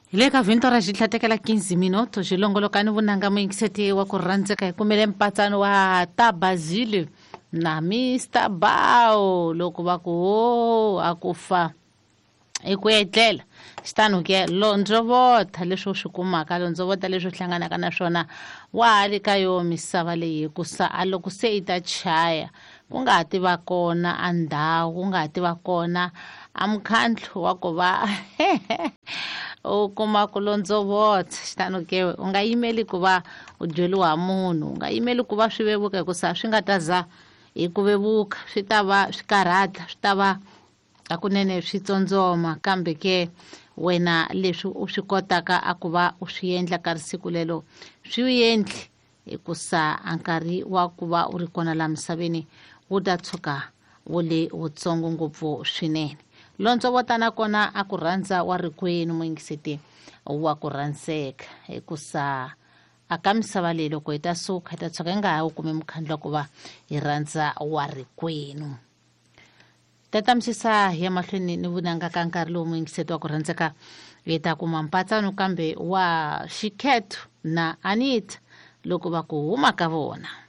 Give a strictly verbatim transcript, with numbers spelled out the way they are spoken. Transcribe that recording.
Hi le ka vhinto ra xitlhatekela quinze minuto xilongolokani vunanga muyingiseti wa ku rhandzeka hi kumele mpatsano wa Tabazile na Mister Bao loko va ku ho a ku fa i ku etlela xitano ke londzovota leswi u swi kumaka londzovota leswi u hlanganaka na swona wa ha le ka yo misava leyi hikusa a loko se yi ta chaya ku nga ha ti va kona a ndhawu ku nga ha ti va kona a mukhandlu wa ku va u kuma ku londzovota xitano ke u nga yimeli ku va u byeriwa munhu u nga yimeli ku va swi vevuka hikusa swi nga ta za hi ku vevuka swi ta va swi karhata swi ta va hakunene swi tsondzoma kambe ke wena leswi u swi kotaka a ku va u swi endla ka risiku lelo swi endli hikusa a nkarhi wa ku va u ri kona laha misaveni wu ta tshuka wu le wutsongo ngopfu swinene londzovota nakona a ku rhandza wa rikwenu muyingiseti wa ku rhandzeka hikusa a ka misava leyi loko hi ta suka hi ta tshuka hi nga ha wu kumi mukhandlu wa ku va hi rhandza wa rikwenu. Tatamisisa hi ya mahlweni ni vunanga ka nkarhi lowu muyingiseti wa ku rhandzeka hi ta kuma mpatsano kambe wa Xikhetho na Anita loko va ku huma ka vona.